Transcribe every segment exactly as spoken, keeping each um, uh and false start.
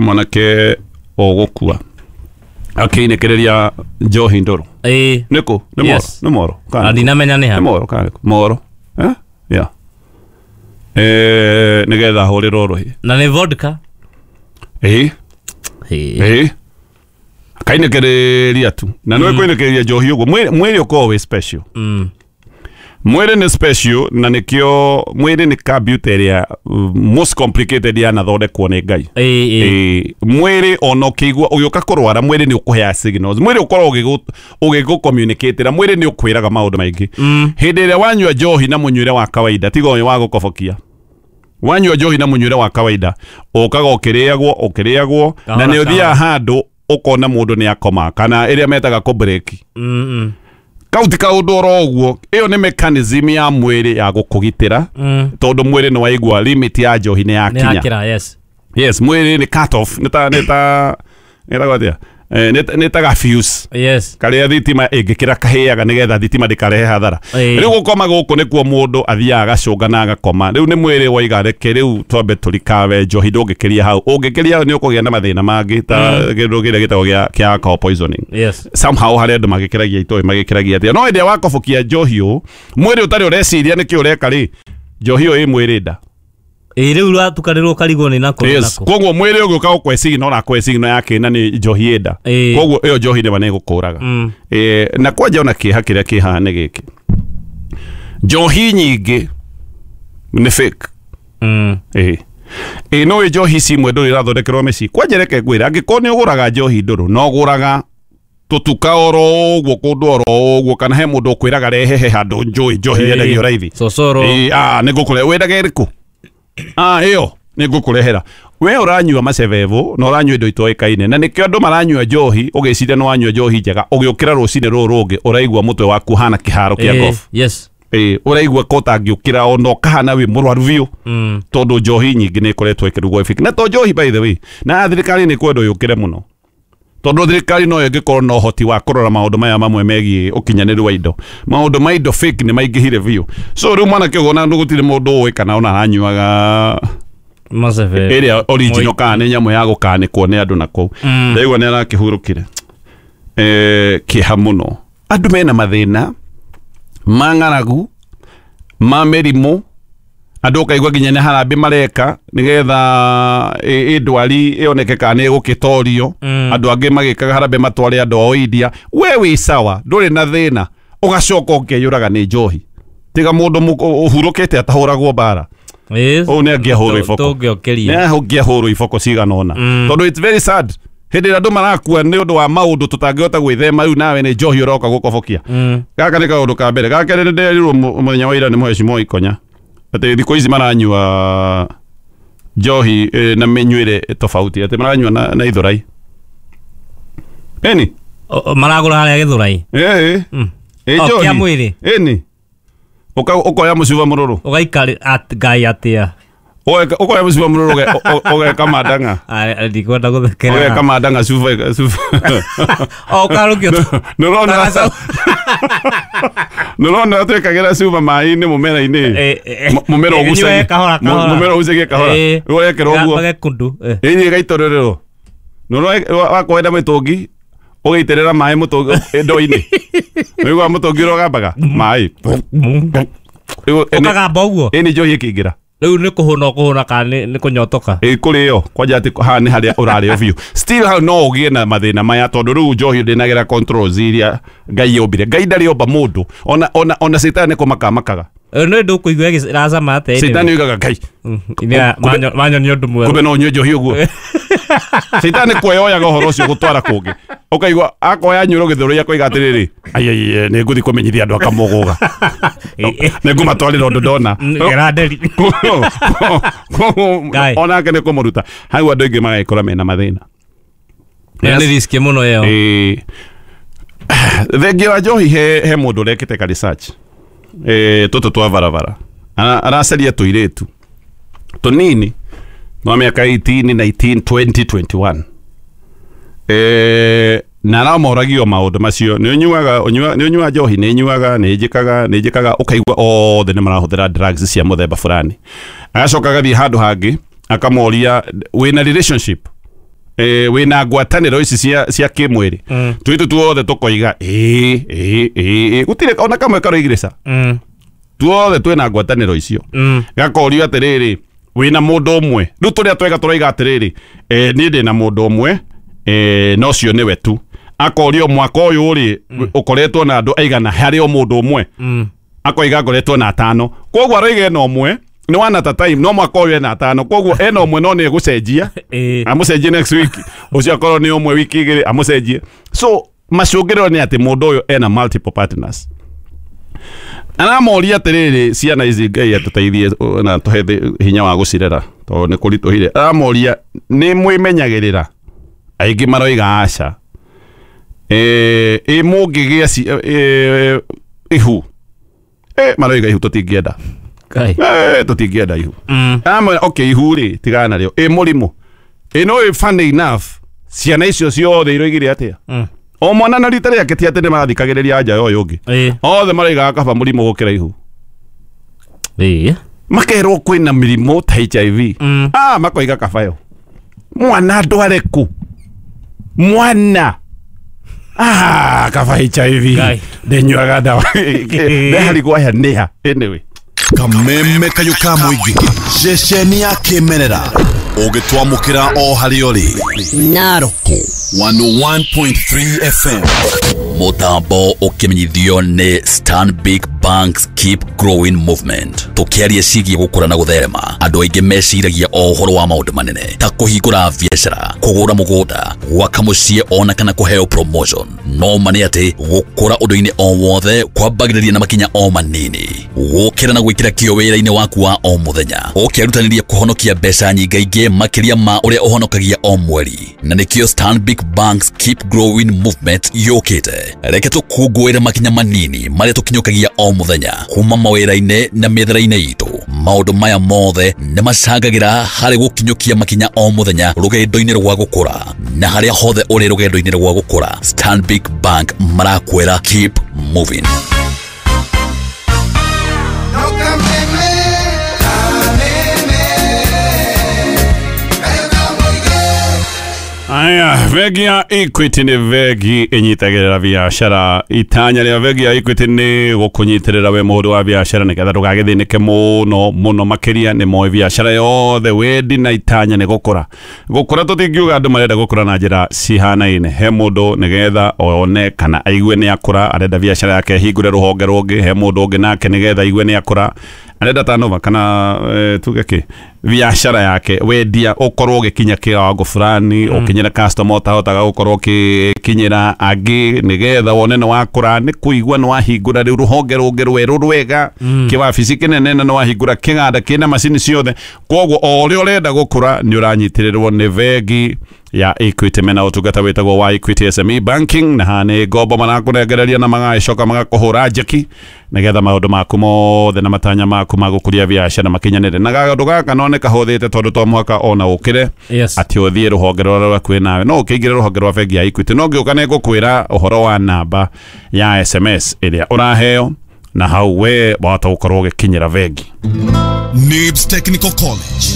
Mwanake ũgũkua akĩinĩkĩrĩria njohi ndũrũ. Ĩĩ. Nĩkũ? Nĩ Moro? Yes. Nĩ Moro kana Na nĩkũ? ndinamenya nĩ Nĩ ha. Moro kana nĩkũ? Moro, eh? Yeah. Eh, nĩgetha ahũrĩrwo rũhĩ. Na nĩ vodka. Ĩĩ. Ĩĩ. Ĩĩ, akainĩkĩrĩria tu na nĩwe kũinĩkĩrĩria njohi ũguo mwĩrĩ mwĩrĩ ũkoragwo wĩ special. Mm. Mwĩrĩ nĩ special na nĩkĩo mwĩrĩ nĩ computer ĩrĩa uh, most complicated yanathondekwo nĩ Ngai. Ĩĩ, ĩĩ. Ĩĩ, mwĩrĩ ona ũkĩigua ũgĩũka kũrwara, mwĩrĩ nĩ ũkũheaga signals, mwĩrĩ ũkoragwo ũgĩgũ- ũgĩgũ-communicatĩra, mwĩrĩ nĩ ũkwĩraga maũndũ maingĩ. Mm. Hĩndĩ ĩrĩa wanyua njohi na mũnyuĩre wa kawaida, tiga ũyũ wa gũkobokia, wanyua njohi na mũnyuĩre wa kawaida, ũkaga ũkĩrĩagwo ũkĩrĩagwo na Kahora, nĩ ũthiaga handũ ũkona mũndũ nĩ akoma kana ĩrĩa metaga kũbreki. Mm, mm. Kau ti kaũndũ oro ũguo, ĩyo nĩ mechanism ya mwĩrĩ ya gũkũgitĩra, Mm. tondũ mwĩrĩ nĩ waigua limit ya njohi nĩ Nĩ yakinya. yakĩra, yes. Yes, mwĩrĩ nĩ cut off, nĩ ta nĩ ta nĩ atĩa? Eh, nĩ nĩ ta ga fuse Yes. karĩa thitima ĩngĩkĩra kahĩaga nĩgetha thitima ndĩkarehe hathara. Ĩĩ. Rĩu gũkoma gũkũ nĩkuo mũndũ athiaga agacũnga na agakoma. Rĩu nĩ mwĩrĩ waiga reke rĩu twambe tũrikawe njohi, ndũngĩkĩria hau, ũngĩkĩria hau nĩ ũkũgĩa na mathĩna mangĩ ta kĩndũ kĩrĩa gĩtagwo gĩa kĩa alcohol poisoning. Yes. Somehow harĩ andũ magĩkĩragia itoĩ magĩkĩragia atĩa, no hĩndĩ ĩrĩa wakobokia njohi ũũ mwĩrĩ ũtarĩ ũreciria nĩkĩ ũreka rĩ, njohi ĩyo ĩ mwĩrĩ nda. Ĩĩ, rĩu rwatukanĩrwo ũkarigwo nĩ nakũ nĩ Yes. nakũ. Koguo mwĩrĩ ũgĩũka gũkwe signal ũrakwe signal ya kĩna nĩ njohi ĩ nda. Ĩĩ. Koguo ĩyo njohi nĩma nĩ ĩgũkũraga. Mm. Eh, na kwanja ona kĩeha kĩrĩa kĩ haha nĩ gĩkĩ, njohi nyingĩ nĩ fake. Mm. Ĩĩ ĩĩ, no ĩ njohi ici imwe ndũrũ irathondekerwo mĩciĩ. Kwanja reke ngwĩre, angĩkorwo nĩ ũgũraga njohi ndũrũ no ũgũraga tũtuka oro ũguo kũndũ oro ũguo, kana he mũndũ ũkwĩraga rehe he handũ njũĩ njohi Ĩĩ. yendagio raithi. Cocoro. Ĩĩ, ah, nĩ ngũkũre wendaga ĩrĩkũ? Ah, ĩyo nĩ ngũkũrehera. We ũranyua macebebu na ũranyua indo itoĩkaine, na nĩkĩo andũ maranyua njohi ũgĩciria nĩ wanyua njohi njega, ũgĩũkĩra rũcinĩ rũrũ rũngĩ ũraigua mũtwe waku hana kĩharo kĩa Ĩĩ, golf. Yes. Ĩĩ, ũraigua ko ũtangĩũkĩra ona ũkahana wĩ mũrwaru biũ, Mm. tondũ njohi nyingĩ nĩ ĩkoretwo ĩkĩrugwo ĩbiki na to njohi, by the way, na thirikari nĩ kwendwo yũkĩre mũno, tondũ thirikari no ĩngĩkorwo na ũhoti wa kũrora maũndũ maya mamwe megiĩ ũkinyanĩru wa indo. Maũndũ ma indo fake nĩ maingĩhire biũ. So rĩu mwanake ũguo na gũtirĩ mũndũ ũĩ kana ona aranyuaga Macebe. ĩrĩa original Moi- kana nĩ nyamũ ya gũkanĩkwo nĩ andũ na kũu. Mm. Ndaigua nĩ arakĩhurũkire. Eh, kĩeha mũno, andũ mena mathĩna ma ng'aragu, ma mĩrimũ, andũ ũkaigua nginya nĩ harambĩ mareka nĩgetha ĩ ĩ ndwari ĩoneke kana nĩ ĩgũkĩtorio. Mm. Andũ angĩ magĩkaga harambĩ matware andũ ao India. We wĩ sawa, ndũrĩ na thĩna, ũgacoka ũkeyũraga nĩ njohi. Tiga mũndũ mũk- ũhurũkĩte atahũragwo mbara. Yes. Ũũ nĩ angĩahũrwo iboko. Tũngĩokĩria. Nĩ angĩahũrwo iboko cigana ũna, Mm. tondũ it's very sad hĩndĩ ĩrĩa andũ marakua nĩ ũndũ wa maũndũ tũtangĩhota gwĩthema. Rĩu nawe nĩ njohi ũroka gũkobokia. Mm. Gaka nĩ kaũndũ ka mbere. Ga kerĩ, nĩ nderirwo mu- mũthenya wa ira nĩ mũhecimwo Ikonya atĩ thikũ ici maranyua njohi eh, na mĩnyuĩre tofauti, atĩ maranyua na, na ithurai ĩni. O- o, Maragũra harĩa Gĩthũrai. Ĩĩ. Mm. Ĩ O, njohi kĩa mwĩrĩ. Ĩni. Ũka- ũkoya mũcuba mũrũrũ. Ũgaikari at Ngai atĩa. Ũgeka- ũkoya mũcuba mũrũrũ ũge- ũ- ũgeka mandang'a. Ah, ndikwenda gũthekera. Ũgeka mandang'a cuba cuba. O ũkarũkio. Nĩũrona nĩũrona twĩkagĩra cuba maĩ-inĩ mũmera-inĩ. Eh, eh, Mu- mũmera eh, ũgucagie ĩnyue kahora, kahora. Mũmera ũgucagie kahora. Eh, Rĩu wekĩra ũguo Gage kundu. Eh. ĩni ĩgaitũrĩrĩrwo. Nĩũrona wakwenda mĩtũngi ũgĩitĩrĩra maĩ mũtũngi ndoo-inĩ, nĩũiguaga mũtũngi ũrĩa ũgambaga maĩ. Rĩu ĩni- Ũkagamba ũguo. Ĩni njohi ĩkĩingĩra. Rĩu nĩ kũhũna ũkũhũna kana nĩ nĩ kũnyotoka? Ĩ kũrĩo kwanja atĩ haha nĩ harĩa ũrarĩo biũ, still hau no ũgĩe na mathĩna maya, tondũ rĩu njohi ndĩnagĩra controls iria Ngai yombire. Ngai ndarĩ omba mũndũ, ona ona ona cetani nĩ kũmaka makaga. Eh, nĩ ndũkũigua ĩgĩ- ĩracama atĩa anyway. Cetani oigaga, "Ngai, Mm, ine- manyo- manyonia ũndũ mwerũ. Kumbe no ũnyue njohi ũguo." Cetani kuoyoyaga ũhoro ũcio gũtwara kũngĩ, ũkaigua akoya nyũrũ gĩthũrũi akoiga atĩrĩrĩ, "Aiaiye, nĩ ngũthiĩ kũmenyithia andũ akamũgũga, nĩ ngũmatwarĩra ũndũ ndona." Gera nderi. Ngai. Onake nĩ kũmũruta hau, andũ aingĩ magagĩkora mena mathĩna. Ĩyo nĩ risk mũno ĩyo. Ĩĩ. Thengia wa njohi, he, he mũndũ ũrekĩte ka research, eh, tũtũ twa barabara. Ara- aracaria tũirĩtu tũnini twa mĩaka eighteen, nineteen, twenty, twenty-one, eh, na aramoragio maũndũ macio, nĩ ũnyuaga ũnyua- nĩ ũnyuaga njohi? Nĩ nyuaga, nĩ njĩkaga, nĩ njĩkaga. Ũkaigua othe nĩ marahũthĩra drugs cia mũthemba fulani. Agacoka agathiĩ handũ hangĩ akamoria, "Wĩna relationship?" eh, wĩna ngwatanĩro ici cia cia kĩmwĩrĩ? Mm. Tũitũ tuothe tũkoiga ĩĩ ĩĩ ĩĩ, gũtirĩ ona kamwe karoigire ca. Mm. Tuothe twĩna ngwatanĩro icio. Mm. Gakorio atĩrĩrĩ, wĩna mũndũ ũmwe? Rĩu tũrĩa twega tũroiga atĩrĩrĩ, eh, niĩ ndĩna mũndũ ũmwe, eh, no ũcio nĩwe tu. Akorio mwaka ũyũ rĩ, ũkoretwo na andũ aigana harĩ o mũndũ ũmwe? Mm. Akoiga ngoretwo na atano. Koguo aroiga ena ũmwe nĩ one at a time, no mwaka ũyũ ena atano, koguo ena ũmwe no nĩ egũcenjia. Ĩĩ. Amũcenjie next week, ũcio akorwo nĩ ũmwe wiki igĩrĩ amũcenjie. So macũngĩrĩro nĩ atĩ mũndũ ũyũ ena multiple partners. Aramoria atĩrĩrĩ, ciana ici Ngai atũteithie na tũhe thĩ- hinya wa gũcirera tondũ nĩ kũritũhire. Aramoria nĩ mwĩmenyagĩrĩra? Aingĩ maroiga aca. Eh, ĩ mũngĩgĩa ci- eh, ihu? Eh, maroiga ihu tũtingĩenda. Kai. Eh, tũtingĩenda ihu. Mm. Amwe okay, ihu rĩ, tigana narĩo. Ĩ mũrimũ? Ĩ no ĩ funny enough, ciana icio ciothe iroigire atĩa? Mm. O mwana na rita rĩake, ti atĩ nĩ marathikagĩrĩria anja ya ũyũ ũngĩ. Ĩĩ. Othe maroigaga kaba mũrimũ gũkĩra ihu. Ĩĩ. Makerwo kwĩna mĩrimũ ta H I V. Mm. Ah, makoiga kaba yo mwana ndware ku mwana, ah, kaba H I V. Ngai. Ndĩnyuaga ndawa ndeharigwo aya nĩha anyway. Kameme kayũ ka mũingĩ, ceceni ya kĩmerera ũgĩtwamũkĩra o harĩa ũrĩ. Naroko one oh one point three F M. Mutambo ũkĩmenyithio nĩ Stanbic Banks Keep Growing Movement. Tũkĩaria ciĩgiĩ gũkũra na gũtherema, andũ aingĩ meciragia o ũhoro wa maũndũ manene ta kũhingũra biacara, kũgũra mũgũnda, gwaka mũciĩ ona kana kũheo promotion. No ma nĩ atĩ gũkũra ũndũ-inĩ o wothe kwambagĩrĩria na makinya o manini, gũkĩra na gwĩkĩra kĩo wĩra-inĩ waku wa o mũthenya, ũkĩrutanĩria kũhonokia mbeca nyingaingĩ makĩria ma ũrĩa ũhonokagia o mweri. Na nĩkĩo Stanbic Banks Keep Growing Movement yũkĩte. Reke tũkũngũĩre makinya manini marĩa tũkinyũkagia o mũthenya kuma mawĩra-inĩ na mĩethere-inĩ itũ. Maũndũ maya mothe nĩ macangagĩra harĩ gũkinyũkia makinya o mũthenya rũgendo-inĩ rwa gũkũra. Na harĩa hothe ũrĩ rũgendo-inĩ rwa gũkũra, Stanbic Bank marakwĩra keep moving. No kameme, kameme, kayo ka mũingĩ. Aya, bengi ya Equity nĩ bengi ĩnyitagĩrĩra biacara. Itanya rĩa bengi ya Equity nĩ gũkũnyitĩrĩra we mũhũri wa biacara nĩgetha ndũgagĩthĩnĩke mũno mũno makĩria. Nĩ moĩ biacara yothe wendi na itanya nĩ gũkũra. Gũkũra tũtingiuga andũ marenda gũkũra na njĩra cihanaine. He mũndũ nĩgetha one kana aigue nĩ akũra arenda biacara yake ĩhingũre rũhonge rũngĩ. He mũndũ ũngĩ nake nĩgetha aigue nĩ akũra arenda tanova kana eh, tuge kĩ biacara yake wendia ũkorwo ũgĩkinya kĩwango fulani, ũkinyĩre customer ũtahotaga gũkorwo ũkĩkinyĩra angĩ. Nĩgetha wone nĩ wakũra nĩ kũigua nĩ wahingũra rĩu rũhonge rũngĩ rwerũ rwega, kĩwabici kĩnene, na nĩ wahingũra kĩganda kĩna macini ciothe. Koguo o ũrĩa ũrenda gũkũra nĩ ũranyitĩrĩrwo nĩ bengi ya Equity. Mena ũtungata wĩtagwo wa Equity S M E Banking, na haha nĩ ngombo marakũnengereria na magagĩcoka magakũhũra njeki nĩgetha maũndũ maku mothe na matanya maku ma gũkũria biacara makinyanĩre. Na gaũndũ gaka no nĩ kahũthĩte tondũ to mũhaka ona ũkĩre Yes. atĩ ũthiĩ rũhonge rũrĩa rwakuĩ nawe, no ũkĩingĩre rũhonge rwa bengi ya Equity. No ngĩũka nĩ ngũkwĩra ũhoro wa namba ya S M S ĩrĩa ũraheo na hau we wahota gũkorwo ũgĩkinyĩra bengi. Nibs Technical College.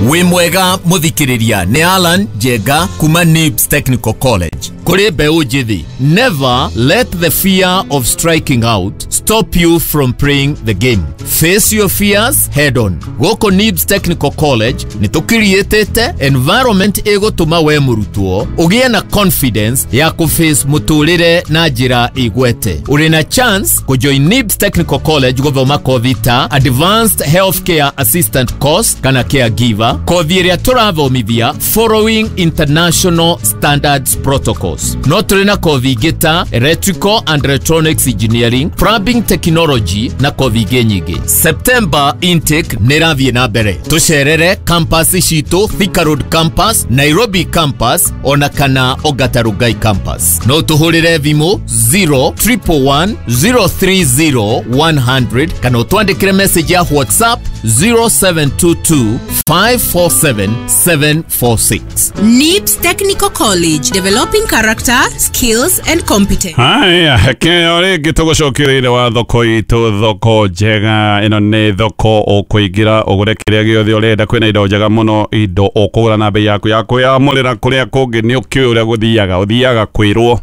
Wĩ mwega mũthikĩrĩria, nĩ Alan Njenga kuma Nibs Technical College. Kũrĩ mbeũ njĩthĩ, never let the fear of striking out stop you from playing the game. Face your fears head on. Gũkũ Nibs Technical College nĩ tũkiriĩtĩte environment ĩgũtũma we mũrutwo ũgĩe na confidence ya kũface mũtũrĩre na njĩra ĩgwete. Ũrĩ na chance kũjoin Nibs Technical College gũthoma kothi ta Advanced Healthcare Assistant Course kana Caregiver, kothi ĩrĩa tũrathomithia following international standards protocols. No tũrĩ na kothi ingĩ ta Electrical and Electronics Engineering, Plumbing Technology na kothi ingĩ nyingĩ. September intake nĩ ĩrathiĩ na mbere. Tũcerere campus citũ, Thika Road Campus, Nairobi Campus ona kana Ongata Rongai Campus. No tũhũrĩre thimũ zero one one one zero three zero one zero zero kana ũtwandĩkĩre message ya WhatsApp. zero seven two two, five four seven, seven four six. N I B S Technical College, developing character, skills and competence. Haya, keo rĩngĩ tũgũcokereire wa thoko itũ, thoko njega. Ĩno nĩ thoko ũkũingĩra ũgũre kĩrĩa gĩothe ũrenda. Kwĩna indo njega mũno, indo ũkũgũra na bei yaku ya kwĩyamũrĩra. Kũrĩa kũngĩ nĩ ũkĩũĩ ũrĩa gũthiaga, ũthiaga kwĩrwo.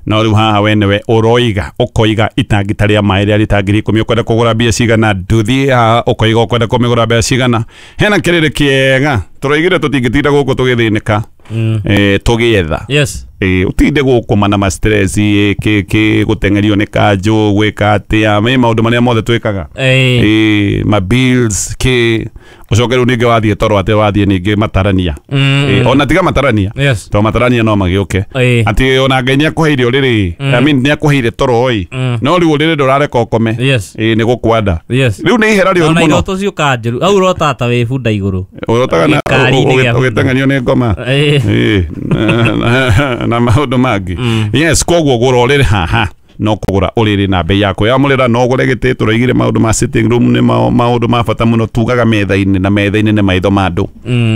No rĩu haha we nĩwe ũroiga, ũkoiga itangi ta rĩa maĩ rĩa rita ngiri ikũmi ũkwenda kũgũra mbia cigana, ndũthiĩ haha ũkoiga ũkwenda kũmĩgũra mbia cigana. Hena kĩrĩrĩ kĩega tũroigire tũtingĩtinda gũkũ tũgĩthĩnĩka, eh, tũgĩetha. Yes. Eh, utinde gũkũ na ma stress kĩ kĩ gũteng'erio nĩ kanjũ gwĩka atĩa, me maũndũ marĩa mothe twĩkaga, Eh. eh, ma bills kĩ, ũcoke rĩu ningĩ wathiĩ toro atĩ wathiĩ ningĩ matarania, Mm. eh, ona tiga matarania, Yes. to matarania no magĩũke Eh. atĩ ona Ngai nĩakũheire ũrĩrĩ, I mean nĩakũheire toro ĩ, no rĩu ũrĩrĩ ndũrareka ũkome. Yes. Eh, nĩ gũkwanda. Yes. Rĩu nĩ ihera rĩũru Ona mũno. iroto ciũkaga njũru. Au ũrota ta wĩ bunda igũrũ. Ũrotaga na Gĩkari-inĩ gĩa bunda. ũgĩteng'erio nĩ ngoma. Eh. Eh, na, na maũndũ mangĩ. Yes, koguo gũra ũrĩrĩ haha no kũgũra ũrĩrĩ na bei yaku yamũrĩra, no ũgũre gĩtĩ. Tũroigire maũndũ ma sitting room nĩ maũndũ ma bata mũno, tugaga metha-inĩ, na metha-inĩ nĩ maitho ma andũ.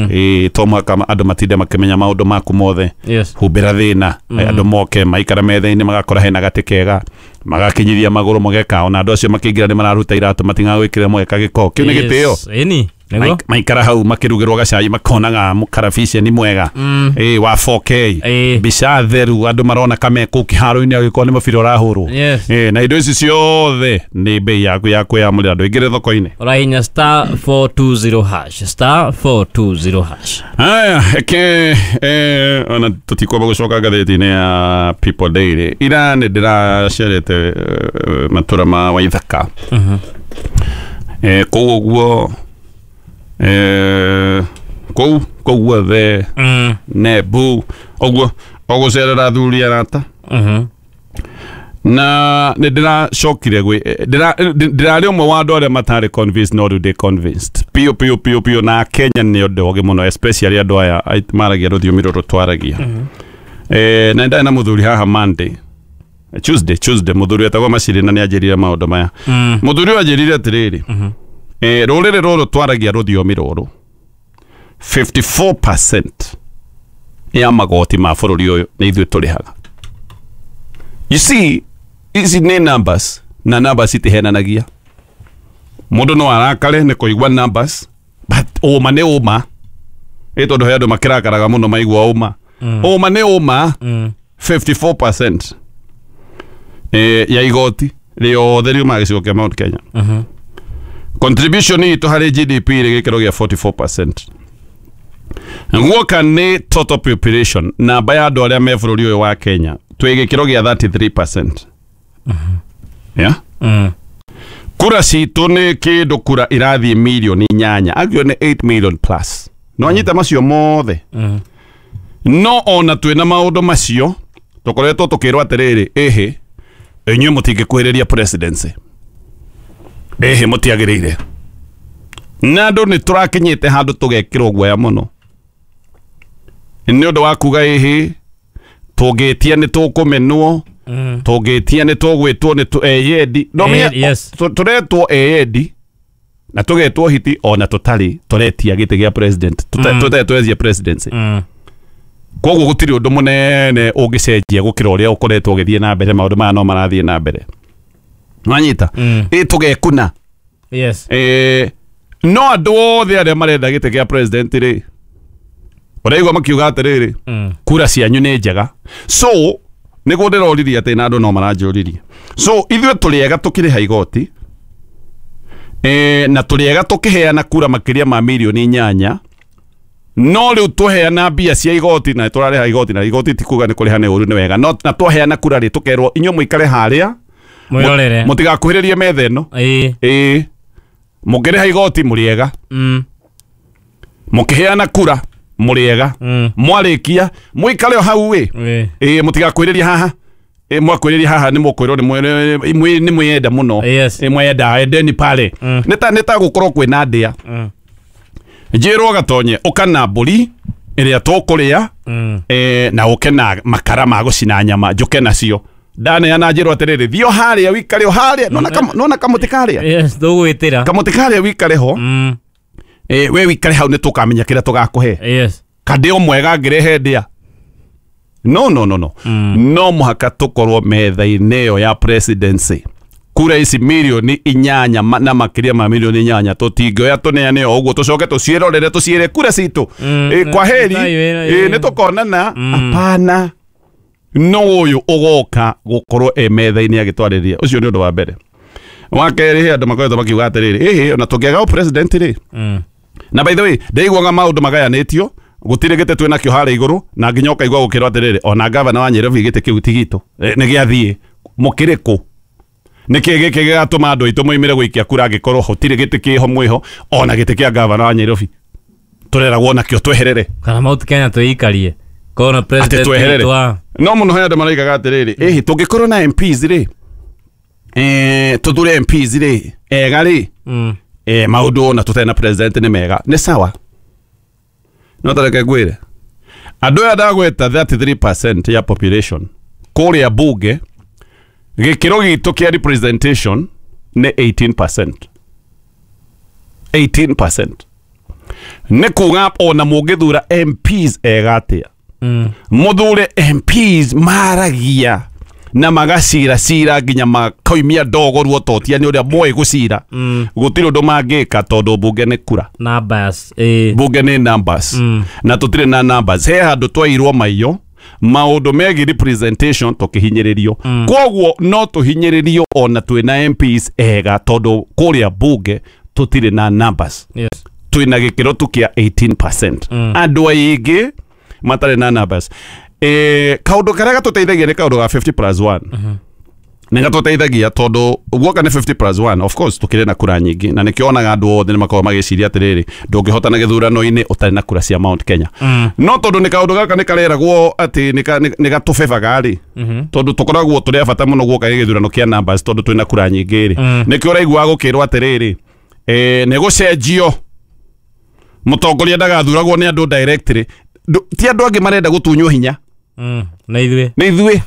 Ĩĩ, to mũhaka andũ matinde makĩmenya maũndũ maku mothe. Yes. Humbĩra thĩna, andũ moke maikara metha-inĩ magakora hena gatĩ kega, magakinyithia magũrũ mũgeka, ona andũ acio makĩingĩra nĩ mararuta iratũ matingagwĩkĩra mũgeka gĩko kĩu nĩ gĩtĩo. Ĩni. Nĩguo? Maikara hau makĩrugĩrwo gacai makonaga mũkarabiceni mwega, ĩĩ, wa four K, Ĩĩ. mbica theru, andũ marona kame kũu kĩharo-inĩ agĩkorwo nĩ mũbira ũrahũrwo. Yes. Ĩĩ, na indo ici ciothe nĩ bei yaku ya kwĩyamũrĩra, ndũingĩre thoko-inĩ. Ũrahihinya star four two zero hash, star four two zero hash. Haya, eke eh, ona tũtikwamba gũcoka ngathĩti-inĩ ya People Daily. Ira nĩ ndĩracerete eh, matũra ma Waithaka. Eh, kũu ũguo, eh, kũu kũu guothe, Mm. Nebu ũguo, ũgũcerera athuri arata. Mhm. Na nĩ ndĩracokire gwĩ ndĩrarĩ ũmwe wa andũ arĩa matarĩ convinced, no rĩu ndĩ convinced piũ piũ piũ piũ. Na Kenya nĩ ũndũ ũgĩ mũno, especially andũ aya maragia rũthiomi rũrũ twaragia. Eh, na ndarĩ na mũthuri haha Monday, Tuesday, Tuesday, mũthuri etagwo Maciri, na nĩ anjĩrire maũndũ maya. Mũthuri ũyũ anjĩrire atĩrĩrĩ, eh, rũrĩrĩ rũrũ twaragia rũthiomi rũrũ fifty-four percent ya magoti ma bũrũri ũyũ nĩ ithuĩ tũrĩhaga. You see, ici nĩ numbers, na numbers itihenanagia. Mũndũ no arakare nĩ kũigua numbers, but ũma nĩ ũma. Ĩ tondũ he andũ makĩrakaraga mũno maigua ũma. Ũma nĩ ũma. fifty-four percent eh, ya igoti rĩothe riumaga gĩcigo kĩa Mount Kenya. Contribution itũ harĩ G D P rĩ gĩkĩro gĩa forty-four percent. Guoka nĩ total population, namba ya andũ arĩa me bũrũri ũyũ wa Kenya, twĩ gĩkĩro gĩa thirty-three percent. Yeah? Mm. Kura citũ nĩ kĩndũ kura irathiĩ mirioni inyanya, agio nĩ eight million plus. No anyita macio mothe. No ona twĩna maũndũ macio, tũkoretwo tũkĩrwo atĩrĩrĩ, ĩhĩ, inyuĩ mũtingĩkuhĩrĩria presidency. Ĩhĩ, mũtiagĩrĩire. Na andũ nĩ tũrakinyĩte handũ tũgekĩrwo guoya mũno. Nĩ ũndũ wa kuga ĩhĩ, tũngĩtia nĩ tũkũmenwo, tũngĩtia nĩ tũgwĩtwo nĩ tũ eyendi. No Eh, menya, yes. tũretwo eyendi na tũgetwo hiti ona tũtarĩ tũretia gĩtĩ gĩa president, tũtarĩ twetia presidency. Koguo gũtirĩ ũndũ mũnene ũngĩcenjia gũkĩra ũrĩa ũkoretwo ũgĩthiĩ na mbere, maũndũ maya no marathiĩ na mbere. Nwanyita? Ĩ tũgekuna. Yes. Eh, no andũ othe arĩa marenda gĩtĩ kĩa president rĩ, ũraigua makiuga atĩrĩrĩ, kura cianyu nĩ njega. So nĩguo ndĩroririe atĩ na andũ no maranjũririe. So ithuĩ tũrĩ ega tũkĩrĩha igoti, eh, na tũrĩ ega tũkĩheana kura makĩria ma mirioni inyanya, no rĩu tũheana mbia cia igoti na tũrarĩha igoti, na igoti ti kuga nĩ kũrĩha nĩ ũru nĩ wega, no na twaheana kura rĩ tũkerwo inyuĩ mũikare harĩa Mwĩrorere. mũtigakuhĩrĩrie metha ĩno. Ĩĩ. Ĩĩ, mũkĩrĩha igoti mũrĩ ega, Mm. mũkĩheana kura mũrĩ ega, mwarĩkia mũikare o hau ĩ. Ĩĩ. Ĩĩ, mũtigakuhĩrĩrie haha. Ĩĩ, mwakuhĩrĩria haha nĩ mũkwĩrwo nĩ nĩ mwĩyenda mũno. Yes. Ĩĩ, mwenda endeni pale. Nĩ ta nĩ ta gũkorwo kwĩna ndĩa. Njĩrwo gatonye ũka na mbũri ĩrĩa tũkũrĩa, eh, na ũke na makara ma gũcina nyama njũke nacio. Ndaneana njĩrwo atĩrĩrĩ, thiĩ o harĩa wikare o harĩa. Nona kam nona kamũtĩ karĩa. Yes, tũgwĩtĩra. Kamũtĩ karĩa wikare ho. Mm. Eh, we wikare hau nĩ tũkamenya kĩrĩa tũgakũhe. Yes. Kandĩ o mwega ngĩrehe ndĩa. No no no no. Mm. No mũhaka tũkorwo metha-inĩ ĩyo ya presidency. Kura ici milioni inyanya ma- na makĩria ma milioni inyanya tũtingĩoya tũneane o ũguo tũcoke tũciĩrorere tũciĩre kura citũ. Mm. Eh, kwa heri. Thayũ wĩra, Eh, ĩ. nĩ tũkonana. Mm. Hapana. No ũyũ ũgoka gũkorwo e metha-inĩ agĩtwarĩria. Ũcio nĩ ũndũ wa mbere. Wa kerĩ, he andũ makoretwo makiuga atĩrĩrĩ, ĩhĩ ona tũngĩaga president rĩ. Mm. Na by the way, ndaiguaga maũndũ magayanĩtio gũtirĩ gĩtĩ twĩ nakĩo harĩa igũrũ na nginya ũkaigua gũkĩrwo atĩrĩrĩ ona gavana wa Nairobi gĩtĩ kĩu ti gitũ. Eh, nĩ gĩathiĩ mũkĩrĩ kũ? Nĩkĩ gĩkĩ gĩgatũma andũ aitũ moimĩre gũikia kura angĩkorwo gũtirĩ gĩtĩ kĩho mwĩho ona gĩtĩ kĩa gavana wa Nairobi tũreragwo nakĩo tweherere Kana Mount Kenya twĩikarie. Kona atĩ president tweherere witũ wa no mũno he andũ maraigaga atĩrĩrĩ ĩhĩ tũngĩkorwo na M Ps rĩ, eh, tũthure M Ps rĩ ega rĩ, Mm. eh, maũndũ ona tũtarĩ na president nĩ mega nĩ sawa. No tareke ngwĩre andũ aya ndagweta thirty-three percent ya population kũrĩa bunge gĩkĩro gitũ kĩa representation nĩ eighteen percent. eighteen percent nĩ kuga ona mũngĩthura M Ps ega atĩa, Mm. mũthure M Ps maragia na magacira cira nginya makoimia ndogo ruototia nĩ ũrĩa moĩ gũcira. Mm. Gũtirĩ ũndũ mangĩka tondũ bunge nĩ kura. Numbers. Eh. Bunge nĩ numbers. Mm. Na tũtirĩ na numbers. He handũ twairwo maiyo maũndũ megiĩ representation tũkĩhinyĩrĩrio. Mm. Koguo no tũhinyĩrĩrio ona twĩna M Ps ega tondũ kũrĩa bunge tũtirĩ na numbers. Yes. Twĩna gĩkĩro tu kĩa eighteen percent. Mm. Andũ aingĩ matarĩ na numbers. Eh, kaũndũ karĩa gatũteithagia nĩ kaũndũ ga fifty plus one. Mhm. Nĩ gatũteithagia tondũ guoka nĩ fifty plus one, of course tũkĩrĩ na kura nyingĩ na nĩkĩo onaga andũ othe nĩ makoragwo magĩciria atĩrĩrĩ ndũngĩhotana gĩthurano-inĩ ũtarĩ na kura cia Mount Kenya. Mm. No tondũ nĩ kaũndũ gaka nĩ kareragwo atĩ nĩ gatũbebaga rĩ, Mhm. tondũ tũkoragwo tũrĩ a bata mũno guoka gĩthurano kĩa numbers tondũ twĩna kura nyingĩ rĩ, Mm. nĩkĩo ũraiguaga gũkĩrwo atĩrĩrĩ eh, nĩ gũcenjio mũtongoria ndagathuragwo nĩ andũ directly. Ti andũ angĩ marenda gũtunywo hinya. Mm. Na ithuĩ. Nĩ ithuĩ.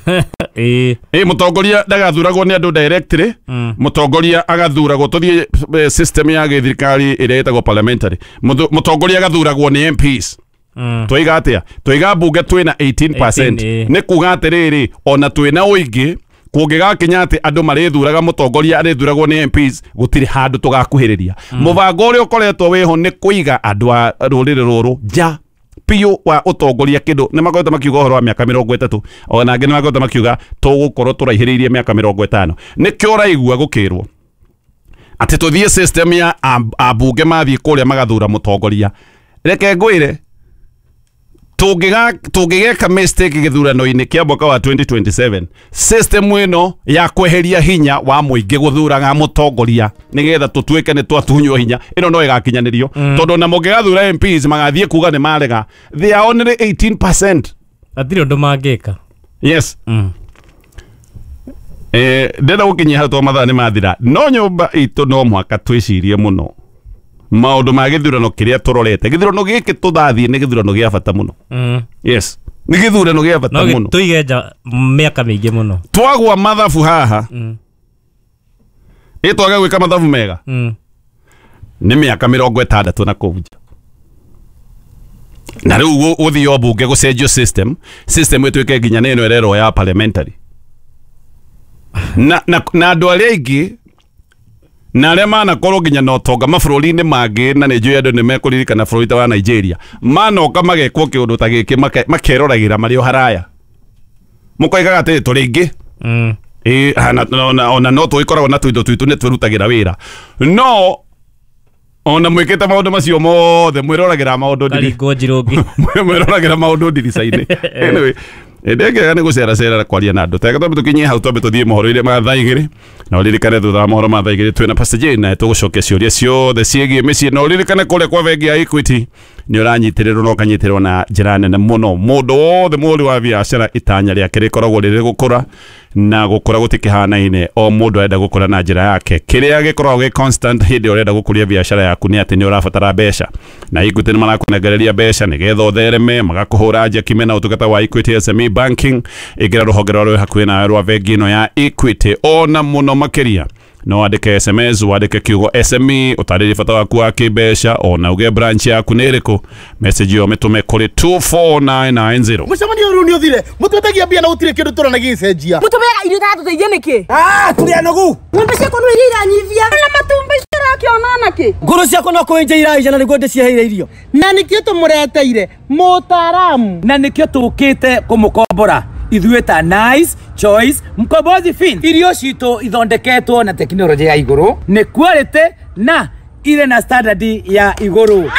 Ĩĩ. Ĩ mũtongoria ndagathuragwo nĩ andũ directly. Mm. Mũtongoria agathuragwo tũthiĩ system ya gĩthirikari ĩrĩa ĩtagwo parliamentary. Mũtongoria agathuragwo nĩ M Ps. Mm. Twaiga atĩa? Twaiga bunge twĩna eighteen percent. eighteen, Nĩ kuga atĩrĩrĩ ona twĩna ũingĩ kũngĩgakinya atĩ andũ marĩthuraga mũtongoria arĩthuragwo nĩ M Ps gũtirĩ handũ tũgakuhĩrĩria. Mũbango ũrĩa ũkoretwo wĩho nĩ kũiga andũ a rũrĩrĩ rũrũ nja piũ wa ũtongoria kĩndũ. Nĩ makoretwo makiuga ũhoro wa mĩaka mĩrongo ĩtatũ ona angĩ nĩ makoretwo makiuga tũgũkorwo tũraihĩrĩirie mĩaka mĩrongo ĩtano. Nĩkĩo ũraigua gũkĩrwo atĩ tũthiĩ system ya ambunge mathiĩ kũrĩa magathura mũtongoria. Reke ngwĩre tũngĩgeka mistake gĩthurano-inĩ kĩa mwaka wa twenty twenty-seven system ĩno ya kweheria hinya wa mũingĩ gũthuraga mũtongoria nĩgetha tũtuĩke nĩ twatunywo hinya ĩno no ĩgakinyanĩrio. Mm. Tondũ ona mũngĩgathura M Ps magathiĩ kuga nĩ marega they are only eighteen percent. Hatirĩ ũndũ mangĩka. Yes. Mm. Eh, ndĩrenda gũkinyia hau tondũ mathaa nĩ mathira. No nyũmba itũ no mũhaka twĩcirie mũno maũndũ ma gĩthurano kĩrĩa tũrorete. Gĩthurano gĩkĩ tũthathiĩ nĩ gĩthurano gĩa bata mũno. Mm. Yes. Nĩ gĩthurano gĩa bata No mũno. tũige nja mĩaka mĩingĩ mũno. Twagwa mathabu haha. Mm. Ĩ twage gwĩka mathabu mega. Mm. Nĩ mĩaka mĩrongo ĩtandatũ na kũu nja. Na rĩu gũthiĩ o bunge gũcenjio system, system ĩtuĩke nginya nĩ ĩno ĩrerwo ya parliamentary. Na na na andũ arĩa aingĩ na arĩa manakorwo nginya na ũtonga mabũrũri-inĩ mangĩ na nĩ njũĩ andũ nĩ mekũririkana bũrũri ta wa Nigeria manoka magekwo kĩũndũ ta gĩkĩ makeroragĩra marĩ o haraya mũkoigaga atĩ tũrĩ aingĩ. Mm. Ĩ ona ona no tũgĩkoragwo na tũindo twitũ nĩ twĩrutagĩra wĩra no ona mwĩkĩte maũndũ macio mothe mwĩroragĩra maũndũ Karingwo njirũngi. mwĩroragĩra maũndũ ndirica-inĩ. Anyway, ndengega nĩ gũceracera kwaria na andũ tega twambe tũkinyie hau twambe tũthiĩ mohoro-inĩ ma thaa igĩrĩ na ũririkane thutha wa mohoro ma thaa igĩrĩ twĩna Pastor Jane na tũgũcokia ciũria ciothe ciĩgiĩ mĩciĩ na ũririkane kũrĩa kwa bengi ya Equity Nĩ ũranyitĩrĩrwo na ũkanyitĩrĩrwo na njĩra nene mũno. Mũndũ wothe mũhũri wa biacara itanya rĩake rĩkoragwo rĩrĩ gũkũra, na gũkũra gũtikĩhanaine, o mũndũ arenda gũkũra na njĩra yake. Kĩrĩa gĩkoragwo gĩ constant hĩndĩ ĩrĩa ũrenda gũkũria biacara yaku nĩ atĩ nĩ ũrabatara mbeca, na Equity nĩ marakũnengereria mbeca nĩgetha ũthereme, magakũhũra njeki mena ũtungata wa Equity S M E Banking. Ĩngĩra rũhonge rwa rwĩ hakuhĩ nawe rwa bengi ĩno ya Equity. Ona mũno makĩria no wandĩke S M S, wandĩke kiugo S M E, ũtarĩrie bata waku wa kĩmbeca, ona uge branch yaku nĩ ĩrĩkũ. Message ĩyo mĩtũme kũrĩ two four nine nine zero. Mũcemanio ũyũ nĩ ũthire, mũtwetagia mbia na gũtirĩ kĩndũ tũrona gĩgĩcenjia. Mũtũmeaga irio itatũteithia nĩkĩ? Ah, tũrĩ anogu. Ng'ombe ciakwa no iria iranyivia. Na matumbĩ irakĩona nakĩ? Ngũrũ ciakwa no kũenja iraija na nĩguo ndĩciheire irio. Na nĩkĩo tũmũreteire mũtaaramu. Na nĩkĩo tũkĩte kũmũkombora ithuĩ ta Nice Choice Mkombozi Fin. Irio citũ ithondeketwo na tekinoronjĩ ya igũrũ, nĩ quality na irĩ na standard ya igũrũ.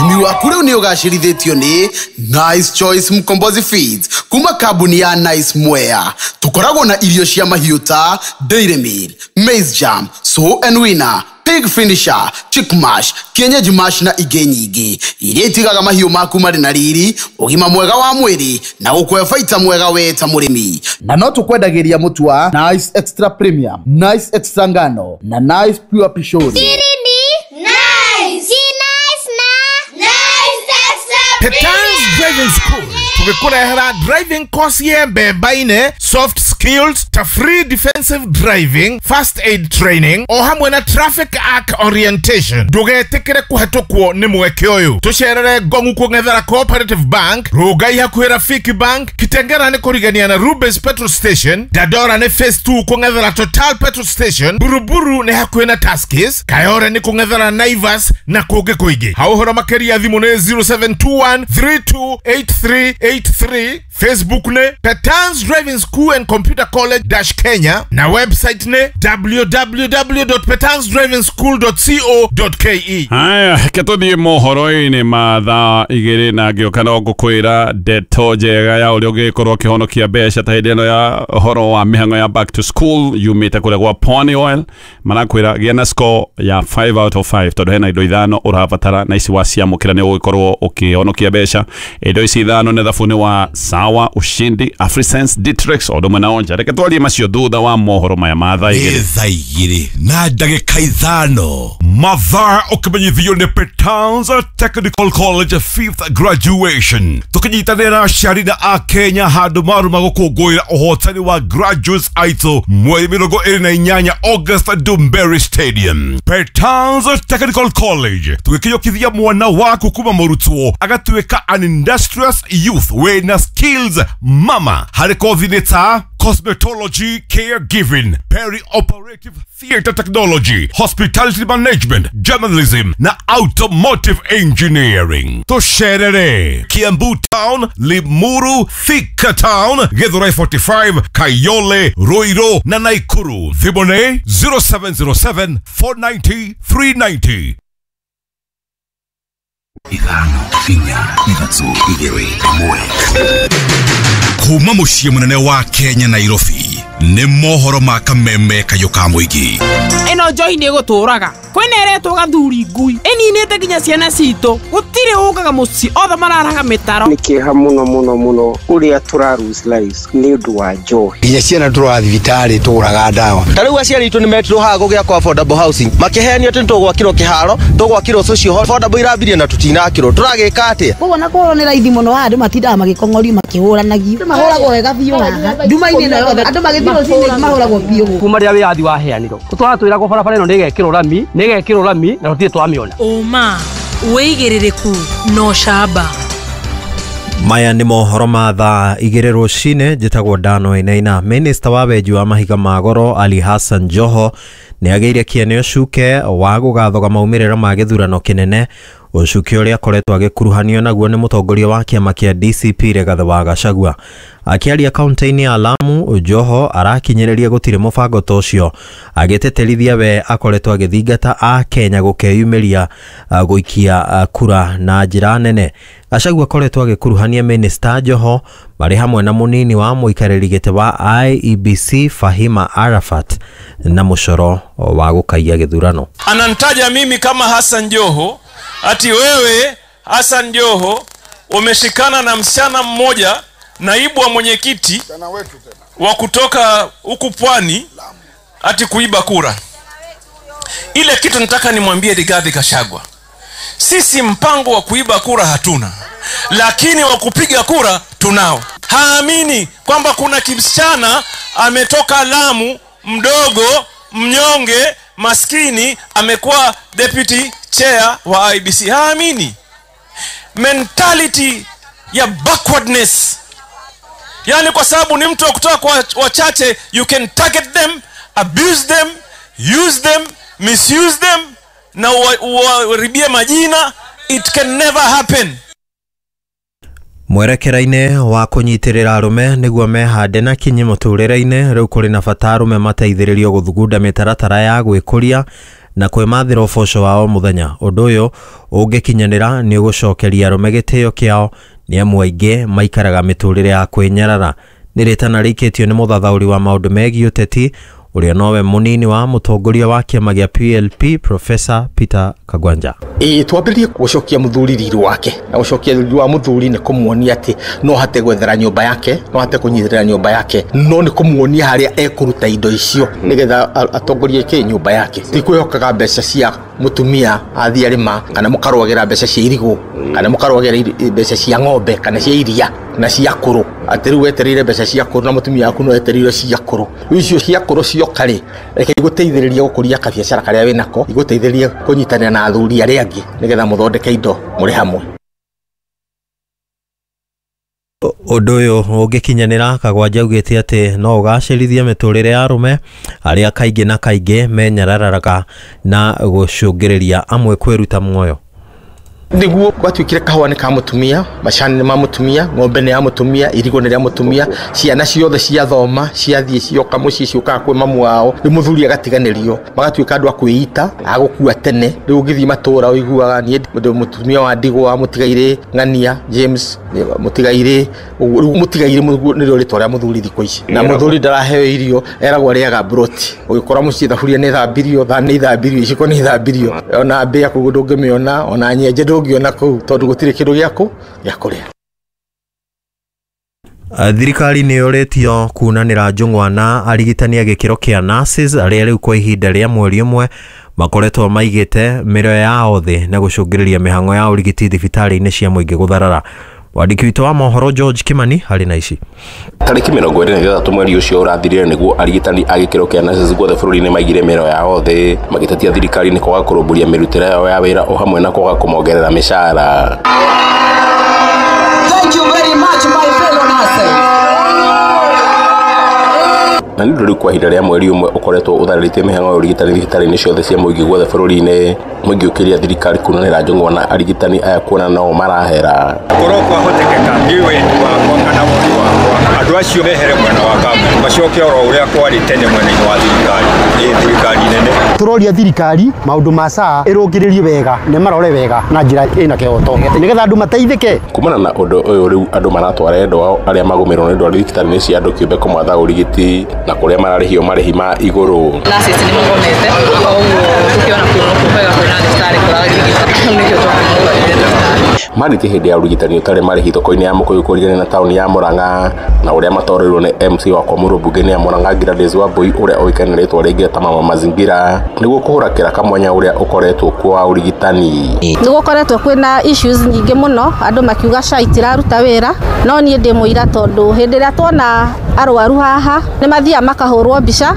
Ũrĩmi waku rĩu nĩ ũgacĩrithĩtio nĩ Nice Choice Mkombozi Feeds kuma kambuni ya Nice Mwea. Tũkoragwo na irio cia mahiũ ta Dairy Meal, Maize Jam, Sow and Winner, Pig Finisher, Chick Mash, Kienyeji Mash na ingĩ nyingĩ iria itigaga mahiũ maku marĩ na riri, ũgima mwega wa mwĩrĩ na gũkũhe baita mwega we ta mũrĩmi. Na no tũkwendagĩria mũtu wa Nice Extra Premium, Nice Extra Ngano na Nice Pure Pishori. Petans Driving School tugĩkũrehera driving course ya mbemba-inĩ, soft skills ta free defensive driving, first aid training o hamwe na traffic arc orientation. Ndũgetĩkĩre kũhetũkwo nĩ mweke ũyũ. Tũcerere Ngongu kũng'ethera Cooperative Bank, Rongai hakuhĩ Rafiki Bank, Kitengera nĩ kũrigania na Rubens Petrol Station, Dandora nĩ Phase two kũng'ethera Total Petrol Station, Buruburu nĩ hakuhĩ na Tuskys, Kayore nĩ kũng'ethera Naivas na kũngĩ kũingĩ. Ha ũhoro makĩria thimũ nĩ zero seven two one three two eight three eight three, Facebook ne Petans Driving School and Computer College dash Kenya na website ne w w w dot petans driving school dot co dot k e. Haya, ketũthiĩ mohoro-inĩ ma thaa igĩrĩ na ngĩũka no ngũkwĩra ndeto njega ya ũrĩa ũngĩkorwo ũkĩhonokia mbeca ta hĩndĩ ĩno ya ũhoro wa mĩhang'o ya back to school yumĩte kũrĩa gwa Pony Oil. Marakwĩra gĩa na score ya five out of five tondũ hena indo ithano ũrabatara na ici waciamũkĩra nĩ ũgũkorwo ũkĩhonokia mbeca. Indo ici ithano nĩ thabuni wa Sawa, Ushindi, Afrisense, Ditrex o ũndũ ũmwe na Onja. Reke twarie macio thutha wa mohoro maya ma thaa igĩrĩ. Thaa igĩrĩ na ndagĩka ithano. Mathaa ũkĩmenyithio nĩ Petans Technical College fifth graduation. Tũkĩnyitanĩra aciari na akenya handũ maruma gũkũngũĩra ũhotani wa graduates aitũ mweri mĩrongo ĩrĩ na inyanya August Dumberry Stadium. Petans Technical College tũgĩkinyũkithia mwana waku kuma mũrutwo agatuĩka an industrious youth wĩna skills mama harĩ kothi nĩ ta cosmetology, caregiving, perioperative theater technology, hospitality management, journalism na automotive engineering. Tũcerere Kiambu Town, Limuru, Thika Town, Githurai forty-five, Kayole, Ruiru na Nakuru. Thimũ nĩ zero seven zero seven four nine zero three nine zero. Ithano, inya, ithatũ, igĩrĩ, ĩmwe. Kuma mũciĩ mũnene wa Kenya Nairobi nĩ mohoro ma kameme kayũ ka mũingĩ. Ĩno njohi nĩ ĩgũtũraga. Kwĩna ĩretwo gathuri ngui. Ĩninĩte nginya ciana citũ. Gũtirĩ ũkaga mũciĩ othe mararaga mĩtaro. Nĩ kĩeha mũno mũno mũno ũrĩa tũra lose lives nĩ ũndũ wa njohi. Nginya ciana tũraga thibitarĩ tũgũraga ndawa. Ta rĩu aciari aitũ nĩ metirwo haha gũgĩakwo affordable housing. Makĩheanio atĩ nĩtũgwakĩrwo kĩharo, tũgwakĩrwo social hall. Affordable irambirie na tũtinakĩrwo. Tũragĩka atĩa? Koguo na korwo nĩ raithi mũno haha andũ matindaga magĩkong'orio makĩhũranagio. Andũ mahũragwo wega biũ haha. Nduma-inĩ ĩno yothe andũ magĩthiĩ rũcinĩ mahũragwo biũ. Kuma rĩrĩa wĩyathi waheanirwo tũratwĩragwo barabara ĩno nĩĩgekĩrwo rami, nĩĩgekĩrwo rami na tũtirĩ twamĩona. Ũma, wĩigĩrĩrĩku na ũcamba. Maya nĩ mohoro ma thaa igĩrĩ rũcinĩ. Njĩtagwo Dano Inaina. Minista wa wenji wa mahiga ma goro Ali Hassan Joho nĩ agĩire kĩene ũcuke wa gũgathoga maumĩrĩra ma gĩthurano kĩnene, ũcuke ũrĩa akoretwo agĩkuruhanio naguo nĩ mũtongoria wa kĩama kĩa D C P Rigathĩ wa Gachagua. Akĩaria kaunti-inĩ ya Lamu, Joho arakinyĩrĩria gũtirĩ mũbango ta ũcio, agĩtĩtĩrithia we akoretwo agĩthingata a Kenya gũkeyumĩria gũikia kura na njĩra nene. Gachagua akoretwo agĩkuruhania Minista Joho marĩ hamwe na mũnini wa mũikarĩri gĩtĩ wa I E B C Fahima Arafat na mũcoro wa gũkaiya gĩthurano. Ananitaja mimi kama Hassan Joho ati wewe Hassan Joho umeshikana na msichana mmoja, naibu wa mwenyekiti wa kutoka huku Pwani, ati kuiba kura. Ile kitu nataka nimwambie Rigathi Gachagua, sisi mpango wa kuiba kura hatuna, lakini wa kupiga kura tunao. Haamini kwamba kuna kimsichana ametoka Lamu, mdogo, mnyonge, maskini, amekuwa deputy chair wa I B C. Haamini. Mentality ya backwardness. Yani kwa sababu ni mtu wa kutoka kwa wachache, you can target them, abuse them, use them, misuse them, na uwaribie majina. It can never happen. Mwerekera-inĩ wa kũnyitĩrĩra arũme nĩguo mehande na kinyi mũtũrĩre-inĩ rĩu kũrĩ na bata arũme mateithĩrĩrio gũthugunda mĩtaratara ya gwĩkũria na kwĩmathĩra ũboco wa o mũthenya. Ũndũ ũyũ ũngĩkinyanĩra nĩ ũgũcokeria arũme gĩtĩo kĩao nĩ amu aingĩ maikaraga mĩtũrĩre ya kwĩnyarara. Nĩ rĩtana rĩikĩtio nĩ mũthathaũri wa maũndũ megiĩ ũteti ũrĩa nowe mũnini wa mũtongoria wa kĩama gĩa P L P Professor Peter Kagwanja. Ĩĩ twambĩrĩrie gũcokia mũthuri riri wake, na gũcokia riri wa mũthuri nĩ kũmuonia atĩ no hate gwethera nyũmba yake, no hate kũnyitĩrĩra nyũmba yake, no nĩ kũmuonia harĩa ekũruta indo icio nĩgetha atongorie kĩ nyũmba yake. Ti kwĩhokaga mbeca cia mũtumia athiĩ arĩma, kana mũkarũagĩra mbeca cia irigũ, kana mũkarũagĩra mbeca cia ng'ombe kana cia iria na cia kũrũ, atĩ rĩu wetereire mbeca cia kũrũ na mũtumia waku no etereire cia kũrũ. Rĩu icio cia kũrũ cioka rĩ, reke igũteithĩrĩrie gũkũria kabiacara karĩa wĩnako, igũteithĩrĩrie kũnyitanĩra na athuri arĩa angĩ nĩgetha mũthondeke indo mũrĩ hamwe. Ũndũ ũyũ ũngĩkinyanĩra, Kagwanja augĩte atĩ no ũgacĩrithie mĩtũrĩre ya arũme arĩa kaingĩ na kaingĩ menyararaga na gũcũngĩrĩria amwe kwĩruta muoyo. Nĩguo gwatuĩkire kahũa nĩ ka mũtumia, macani nĩ ma mũtumia, ng'ombe nĩ ya mũtumia, irigũ nĩ rĩa mũtumia, ciana ciothe ciathoma, ciathiĩ cioka mũciĩ ciũkaga kwĩ mamu wao, rĩu mũthuri agatiganĩrio, magatuĩka andũ a kwĩita, a gũkua tene. Rĩu ũngĩthiĩ matũũra ũiguaga niĩ ndĩ mũtumia wa ndigwa, mũtigairĩ Ng'ania James, mũtigairĩ ũguo. Rĩu mũtigairĩ nĩrĩo rĩtwa rĩa mũthuri thikũ ici, na mũthuri ndaraheo irio, eragwo arĩaga broti. Ũgĩkora mũciĩ thaburia nĩ thambirio, thani nĩ ithambirio, iciko nĩ ithambirio, ona mbĩa kũu ndũngĩmĩona, ona nyenje ndũngĩona kũu tondũ gũtirĩ kĩndũ gĩakũ gĩa kũrĩa. Thirikari nĩ yũrĩtio kunanĩra njũng'wa na arigitani a gĩkĩro kĩa nurses arĩa rĩu kwa ihinda rĩa mweri ũmwe makoretwo maigĩte mĩrĩo yao thĩ na gũcũngĩrĩria mĩhang'o ya ũrigiti thibitarĩ-inĩ cia mũingĩ gũtharara. Mwandĩki witũ wa mohoro George Kimani harĩ na ici. Tarĩki mĩrongo ĩrĩ na ithathatũ mweri ũcio ũrathirire nĩguo arigitani a gĩkĩro kĩa nurses guothe bũrũri-inĩ maigire mĩrĩo yao thĩ magĩtetia thirikari nĩ kwaga kũrũmbũria mĩrutĩre yao ya wĩra o hamwe na kwaga kũmongerera mĩcara. Thank you very much, my fellow nurses. Na nĩ ũndũ rĩu kwa ihinda rĩa mweri ũmwe ũkoretwo ũtharĩrĩtie mĩhang'o ya ũrigitani thibitarĩ-inĩ ciothe cia mũingĩ guothe bũrũri-inĩ, mũingĩ ũkĩria thirikari kunanĩra njũng'wa na arigitani aya kuona no marahera. Korwo kwahotekeka niĩ wendi wakwa kana woni wakwa andũ acio mehere mwena wa kambuni macoke oro ũrĩa kwarĩ tene mwena-inĩ wa thirikari, ĩ thirikari nene. Tũroria thirikari maũndũ ma S H A ĩrũngĩrĩrie wega na marore wega na njĩra ĩna kĩhoto nĩgetha andũ mateithĩke. Kumana na ũndũ ũyũ rĩu andũ maratwara endwa ao arĩa magũmĩrwo nĩ ndwari thibitarĩ-inĩ cia andũ kĩũmbe kũmatha ũrigiti na kũrĩa mararĩhio marĩhi ma igũrũ. Nurses nĩ magomete koguo tũkĩona kwega kwĩna thibitarĩ kũrarigita nĩkĩo twakĩmũtwarire thibitarĩ. Marĩtie hĩndĩ ya ũrigitani ũtarĩ marĩhi thoko-inĩ ya Mũkũyũ kũrigania na taũni ya Murang'a na ũrĩa matoreirwo nĩ M C wa kwa mũrũmbunge ya Murang'a Gladys Wambui ũrĩa ũĩkaine na rĩtwa rĩngĩ ta Mama Mazingira nĩguo kũhũra kĩraka mwanya ũrĩa ũkoretwo kuo wa ũrigitani. Nĩ gũkoretwo kwĩna issues nyingĩ mũno andũ makiuga S H A itiraruta wĩra, no niĩ ndĩ mũira tondũ hĩndĩ ĩrĩa tuona arwaru haha nĩ mathiaga makahũrwo mbica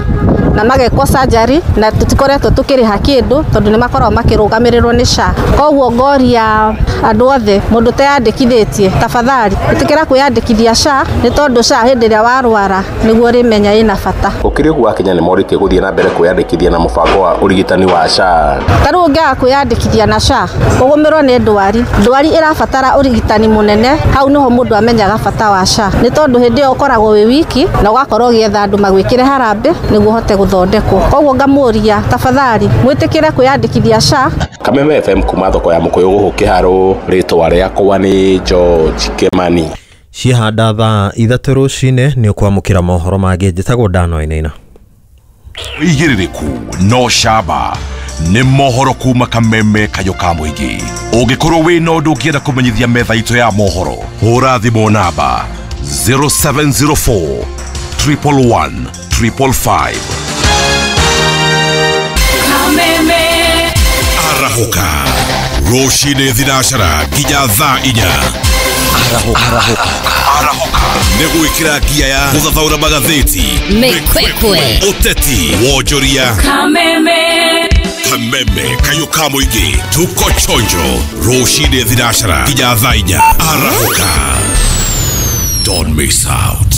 na magekwo surgery na tutikoretwo tukiriha kindu tondu ni makoragwo makirugamirirwo ni S H A. Koguo ngoria andu othe mundu teyandikithitie tafadhali itikira kwiyandikithia S H A ni tondu S H A hindi iria warwara niguo rimenya ina bata. Gukiri uguo Akenya nimorĩtie guthie na mbere kwiyandikithia na mubango wa urigitani wa S H A. Ta riu ungiaga kwiyandikithia na S H A ugumirwo ni ndwari, ndwari irabatara urigitani munene, hau niho mundu amenyaga bata wa S H A ni tondu hindi iyo ukoragwo wi wiki na ugakorwo ugietha andu magwikire harambe niguo uhote guthondekwo. Koguo ngamuria tafadhali mwitikire kwiyandikithia S H A. Kameme F M kuma thoko ya Mukuyu guku Kiharu, ritwa riakwa ni George Kimani. Cihanda thaa ithatũ rũcinĩ nĩ ũkwamũkĩra mohoro mangĩ. Njĩtagwo Dano Wainaina. Ũigĩrĩrĩku no camba nĩ mohoro kuma Kameme Kayũ ka mũingĩ. Ũngĩkorwo wĩna ũndũ ũngĩenda kũmenyithia metha itũ ya mohoro, hũra thimũ namba zero seven zero four triple one triple five. Kameme. Arahũka rũcinĩ thinacara nginya thaa inya. Arahũka. Arahũka nĩ gwĩkĩra ngia ya gũthathaũra magathĩti, Mĩkwekwe, ũteti, wonjoria. Kameme. Kameme Kayũ ka mũingĩ, tuko chonjo rũcinĩ thinacara nginya thaa inya. Arahũka, don't miss out.